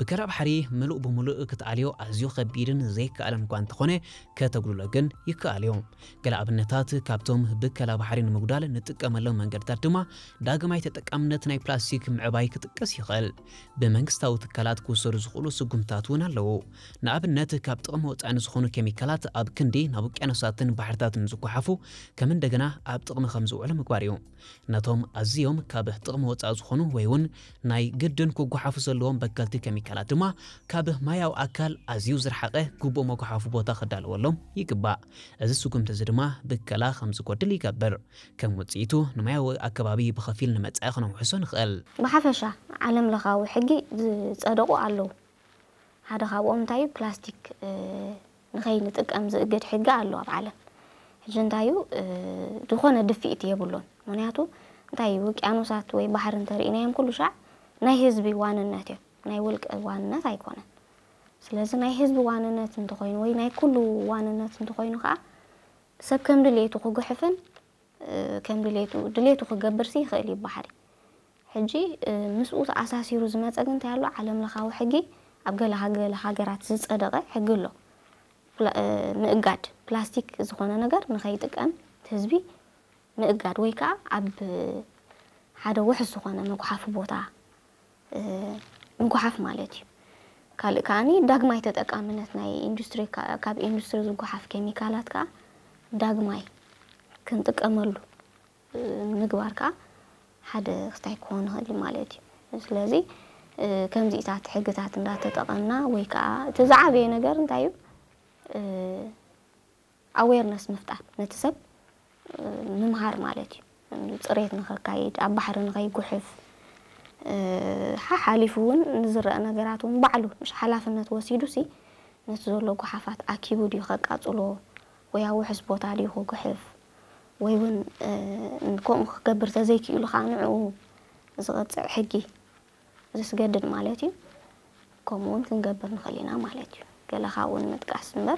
ብከላ ባሕሪ ምሉእ ብምሉእ ክትኣልዮ ኣዝዩ ከቢድን ዘይከኣልን እኳ እንተኾነ፣ ከተጉድሎ ግን ይከኣል እዩ። ገለ ኣብነታት ካብቶም ብከላ ባሕሪ ንምጉዳል ንጥቀመሎም መንገድታት ድማ ዳግማይ ተጠቃምነት ናይ ፕላስቲክ ምዕባይ ክጥቀስ ይኽእል። ብመንግስታዊ ትካላት ክውሰዱ ዝኽእሉ ስጉምታት እውን ኣለዉ። ንኣብነት ካብ ጥቕሚ ወፃኢ ንዝኾኑ ኬሚካላት ኣብ ክንዲ ናብ ውቅያኖሳትን ባሕርታትን ዝጓሓፉ ከም እንደገና ኣብ ጥቕሚ ከም ዝውዕሉ ምግባር እዩ። ነቶም ኣዝዮም ካብ ጥቕሚ ወፃኢ ዝኾኑ ወይ እውን ናይ ግድን ክጓሓፉ ዘለዎም በከልቲ ኬሚካላት ድማ ካብ ማያዊ ኣካል ኣዝዩ ዝረሓቐ ግቡእ መጓሓፉ ቦታ ክዳለወሎም ይግባእ። እዚ ስጉምቲ እዚ ድማ ብከላ ከም ዝጎድል ይገብር። ከም ውፅኢቱ ንማያዊ ኣከባቢ ብኸፊል ንመጻኢ ክነውሕሶ ንኽእል። ብሓፈሻ ዓለም ለኻዊ ሕጊ ዝጸደቑ ኣለዉ። ሓደ ካብኦም እንታይ እዩ? ፕላስቲክ ንኸይንጥቀም ዝእግድ ሕጊ ኣሎ ኣብ ዓለም። ሕጂ እንታይ እዩ? ዝኾነ ድፍኢት የብሉን። ምኽንያቱ እንታይ እዩ? ውቅያኖሳት ወይ ባሕሪ እንተርኢናዮም ኩሉ ሻዕ ናይ ህዝቢ ዋንነት እዮም። ናይ ውልቀ ዋንነት ኣይኮነን። ስለዚ ናይ ህዝቢ ዋንነት እንተኾይኑ ወይ ናይ ኩሉ ዋንነት እንተኾይኑ ከዓ ሰብ ከም ድሌቱ ክጉሕፍን ከም ድሌቱ ድሌቱ ክገብርሲ ይኽእል እዩ ባሕሪ። ሕጂ ምስኡ ተኣሳሲሩ ዝመፀ ግን እንታይ ኣሎ? ዓለም ለኻዊ ሕጊ ኣብ ገለ ሃገ- ሃገራት ዝፀደቐ ሕጊ ኣሎ። ፕላ- ምእጋድ ፕላስቲክ ዝኾነ ነገር ንኸይጥቀም ህዝቢ ምእጋድ ወይ ከዓ ኣብ ሓደ ውሕስ ዝኾነ መጉሓፊ ቦታ ምጉሓፍ ማለት እዩ። ካልእ ከዓኒ ዳግማይ ተጠቃምነት ናይ ኢንዱስትሪ ካብ ኢንዱስትሪ ዝጉሓፍ ኬሚካላት ከዓ ዳግማይ ክንጥቀመሉ ምግባር ከዓ ሓደ ክስታይ ክኾን ይኽእል ማለት እዩ። ስለዚ ከምዚታት ሕግታት እንዳተጠቐምና ወይ ከዓ እቲ ዝዓበየ ነገር እንታይ እዩ? ኣዌርነስ ምፍጣር ነቲ ሰብ ምምሃር ማለት እዩ። ፅሬት ንኸካይድ ኣብ ባሕሪ ንኸይጉሕፍ ሓሓሊፉ እውን ንዝረአ ነገራት እውን ባዕሉ ምሽ ሓላፍነት ወሲዱ ሲ ነቲ ዘሎ ጉሓፋት ኣኪቡ ድዩ ከቃፅሎ ወይ ኣብ ውሕስ ቦታ ድዩ ክጉሕፍ ወይ እውን ከምኡ ክገብር ተዘይክእሉ ከዓ ንዕኡ ዝቐፅዕ ሕጊ ዘስገድድ ማለት እዩ። ከምኡ እውን ክንገብር ንኽእል ኢና ማለት እዩ። ገለ ካብኡ ንምጥቃስ እምበር